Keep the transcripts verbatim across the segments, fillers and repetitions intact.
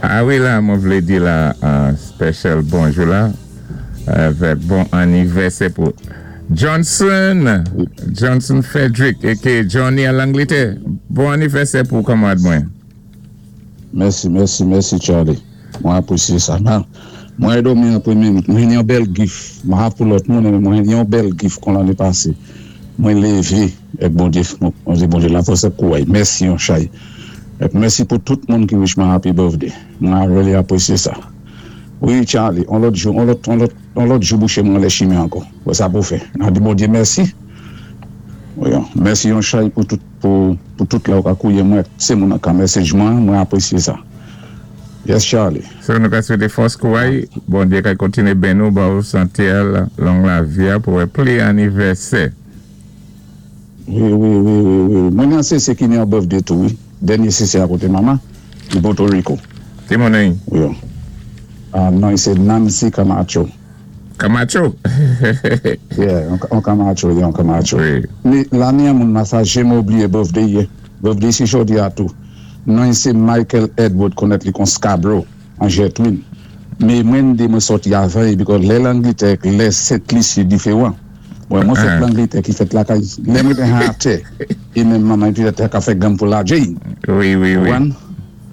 A wi la, mwen vlé di la an special bonjou la, avèk bon anivèsè pou Johnson, Johnson Frederick, A K A Johnny a Langletè. Bon anivèsè pou kanmarad mwen. Mèsi, mèsi, mèsi, Charlie. Mwen apwésyé sa. Nan, mwen dòmi an pwémyé, mwen yon bèl gift. Mwen ha pou lòt moun, mwen yon bèl gift kon lanné pasé. Mwen lévé, èk Bondyé, mwen di Bondyé la fòs kouway. Mèsi yon chay. Èk mèsi pou tout moun ki wish mwen happy birthday. Mwen really apwésyé sa. Wi, Charlie, on lòt jou, on lòt, on lòt, on lòt jou bouché mwen lè chimé ankò. Wè sa pou fè. Nan di Bondyé mèsi. Wi, mèsi yon chay pou tout, pou, pou tout la ou ka kouwé mwen, sé moun ka message mwen, mwen apwésyé sa. Yes, Charlie. So nou ka swété fòs kouway, Bondyé ka kontiné béni ou, ba ou santé, long lavi a pou wè pli anivèsè. Wi, wi, wi, wi, wi. Mwen yon sé sé ki ni yon birthday tou, wi. Dènyé sé sé akoté mama, di Puerto Rico. Ki moun ay? Wi. Ah, non, sé Nancy Camacho. Camacho? Yeah, yon Camacho, yon Camacho. Wi. Mé lanni an moun masa jé oubliyé birthday yé. Birthday si jòdi a tou. Non, sé Michael Edward konnèt li kon Scarborough, an Jetwin. Mé mwen dé mwen sòti avan, because lè Langlétè, lè Sent Lisi diféwan. Mwen mwen fèt Langlétè ki fèt lakay, lè mwen te han atè, é menm manman pi te ka fè gam pou la Jane. Wi, wi, wi. Wan?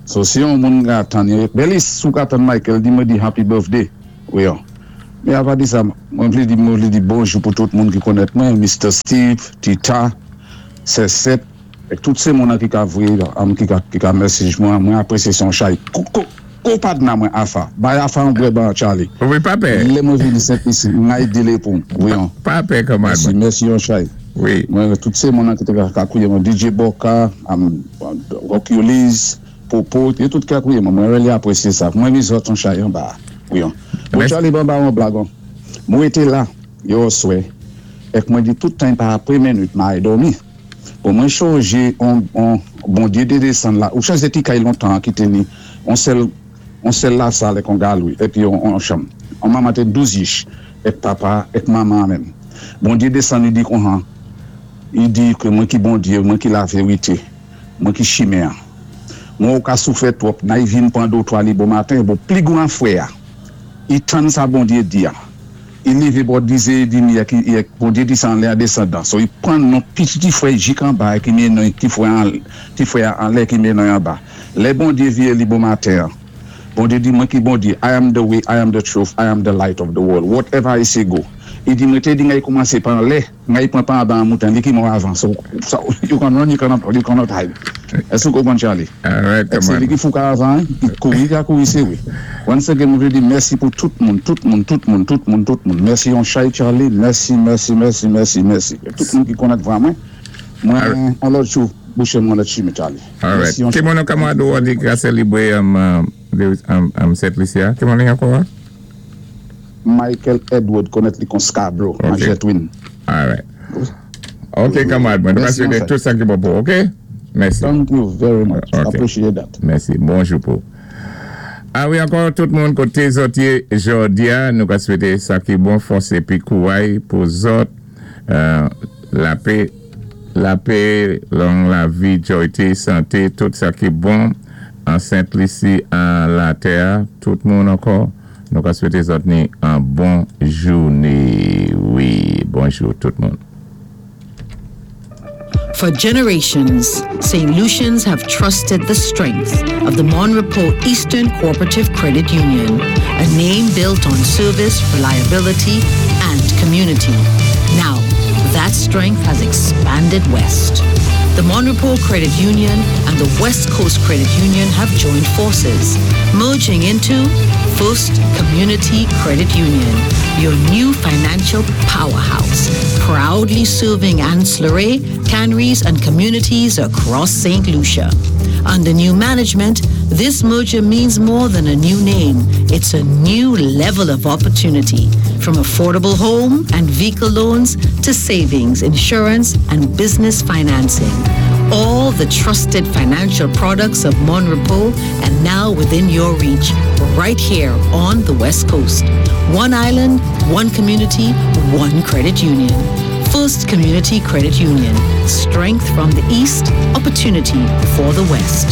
So si yon moun ka tann, Belis, sou ka tann Michael, di mwen di happy birthday. Wi yon. Mé avan di sa, mwen vlé di mwen vlé di bonjou pou tout moun ki konnèt mwen, Mister Steve, Tita, Sesep, èk tout sé moun ki ka vwé, am ki ka, ki ka message mwen, mwen apwésyé son chay. Ko, ko padna mwen afa. Bay afa an bwè ban Charlie. Wi, pa pè. Lè mwen vini Sent Lisi, ngay dile pou. Wi yon. Pa pè kanmarad Mèsi, mwen. Mèsi yon chay. Wi. Mwen tout sé moun ki té ka kouwé mwen, D J Boka, am, Roculis, Popo, yo tout ka kouwé mwen, mwen really apwésyé sa. Mwen mi zòt yon chay an ba. Wi yon. Bon Mèsi. Charlie ban ba yon blagon. Mwen été la, yo swè, èk mwen di tout tan pa apwé minwit, ma ay dòmi. Bon, mwen chonjé, on, on, Bondyé té désann la, ou chonjé ti kay lontan ki té ni, on sèl, on sèl la sal èk on galwi, épi on, on chanm. On manman té douz yich, èk papa, èk manman menm. Bondyé désann, i di kon han, i di ké mwen ki Bondyé, mwen ki la vérité, mwen ki chimen. Mwen ou ka soufè twòp, nan i vin pran dòtwa li bon maten, bon, pli gwan fwè a. I tann sa Bondyé di a. I lévé bò dizè édmi a ki, i, Bondyé di sa anlè a désandan. So i pran non piti fwè jik an ba ki mé non ti fwè an, ti fwè anlè ki mé non an ba. Lè Bondyé vyé li bon maten. Bondyé di mwen ki Bondyé, I am the way, I am the truth, I am the light of the world. Whatever I say go. I di mwen té di ngay koumansé pa anlè, ngay pran pa an moutan, li ki mò avan. So, so you can run, you cannot, you cannot hide. Èské ou konpwann, Charlie? All right, Èk sé li kanmarad. ki fouka avan, ki kouri, ki a kouri sé wi. Once again, mwen vlé di mèsi pou tout moun, tout moun, tout moun, tout moun, tout moun. Mèsi yon chay, Charlie, mèsi, mèsi, mèsi, mèsi, mèsi. Tout moun ki konnèt vwa mwen, mwen, an lòt jou, bouché mwen lòt chimé, Charlie. All right. Mèsi yon Ki chay. moun kanmarad ou di ka sélébwé um, um, um, um, Sent Lisi a? Ki moun ankò? Michael Edward konnèt li kon Scarborough, an Ok. Jetwin. All right. Ok, kanmarad mwen. Nou ka Mèsi swété yon chay. tout sa ki bon pou, ok? Mèsi. Thank you very much. Ok. Appreciate that. Mèsi. Bonjou pou. A wi, ankò tout moun koté zòt yé jòdi a, nou ka swété sa ki bon, fòs épi kouway pou zòt, euh, lapè, lapè, long lavi, joyté, santé, tout sa ki bon an Sent Lisi, an latè, tout moun ankò, nou ka swété zòt ni an bon jouné. Wi, bonjou tout moun. For generations, Saint Lucians have trusted the strength of the Mon Repos Eastern Cooperative Credit Union, a name built on service, reliability, and community. Now, that strength has expanded west. The Mon Repos Credit Union and the West Coast Credit Union have joined forces, merging into First Community Credit Union, your new financial powerhouse, proudly serving Anse La Raye, Canaries, and communities across Saint Lucia. Under new management, this merger means more than a new name. It's a new level of opportunity. From affordable home and vehicle loans to savings, insurance, and business financing. All the trusted financial products of Mon Repos and now within your reach, right here on the West Coast. One island, one community, one credit union. First Community Credit Union. Strength from the East, opportunity for the West.